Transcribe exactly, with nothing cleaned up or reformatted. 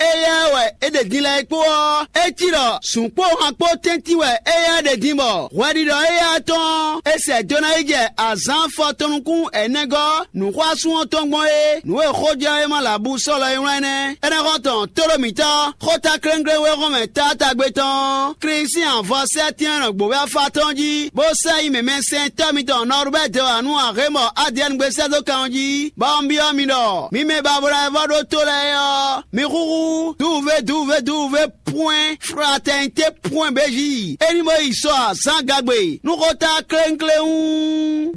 éyɛ́ wɛ é ɖe din lɛ́ɛ é kpó ɔ́, é cí ɖɔ zǔn kpó han kpó tɛ́ntin wɛ éyɛ́ ɖe din bɔ hwɛɖiɖɔ éyɛ́ tɔn ɔ́, é sɛ do ná yi jɛ azǎn afɔtɔn nukún ɛnɛgɔ́ nǔxwásún ɔ́ tɔn gbɔn é. Nǔ e xójɛ́wéma Labusɔ́lɔ e wlán nɛ́. Énɛ́ xɔ́ntɔn tóɖó mǐtɔn xóta kléŋklé wé hɔn mɛ taátagbe tɔn ɔ́, Klísu sín avɔ sɛ́tɛ́n nɔ gbǒvé afá tɔn jí, bó sɛ́ yi mɛmɛsɛntɔ́ mitɔn Nɔrubɛ́ Dewanu Ahémɔ Adiɛnugbe sɛ́ dó kan ɔ́ jí, bɔ un byɔ́ mi ɖɔ mi mɛ ba bo ná vɔ ɖó tó lɛ́ɛ é ɔ́, mi xúxú duwuvé duwuvé duwuvé pwɛ́n fratɛnité pwɛ́n béji. É ní bó yi sɔ azǎn gagbe nú xóta kléŋkléŋ.